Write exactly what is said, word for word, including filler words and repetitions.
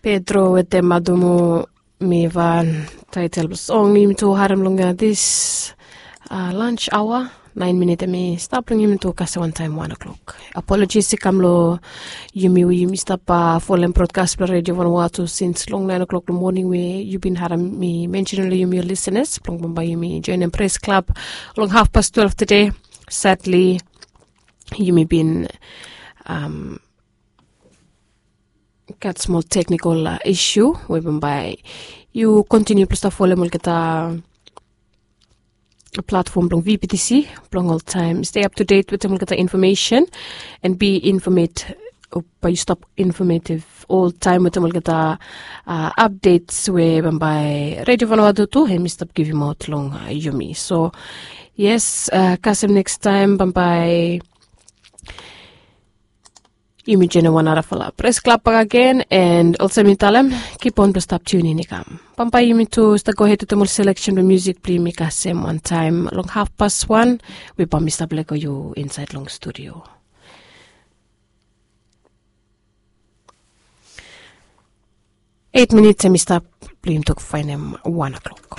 Pedro wetem Adumu, mi wan taitel blong song yumi tu harem long dis lunch aoa. Naen minit em i stap long yumi tu kasem wantaem wan o'klok. Apologis i kam long yumi we yumi stap folem brodkas blong Redio Vanuatu sins long naen o'klok long moning we yu bin harem mi mensenem long yumi ol lisenas blong bambae yumi joenem pres klab long hafpas twelef tede. Sadli yumi bin gat smol teknikol isu we bambae yu kontiniu blong stap folem olgeta platfom blong VPTC blong oltaem stay up to date wetem olgeta infomesen and be informed. Bae yu stap informative oltaem wetem olgeta updates we bambae Redio Vanuatu tu hem i stap givimaot long yumi. So yes, kasem nekstaem bambae yumi joenem wan narafala pres klab bakegen. And olsem mi talem, kipon blong stap tiunin i kam. Bambae yumi tu stap gohed wetem ol seleksen blong musik blong yumi kasem wantaem long hafpas wan we bae mi stap lego yu insaed long studio. Eit minit em i stap blong yumi tok faenem wan o'klok.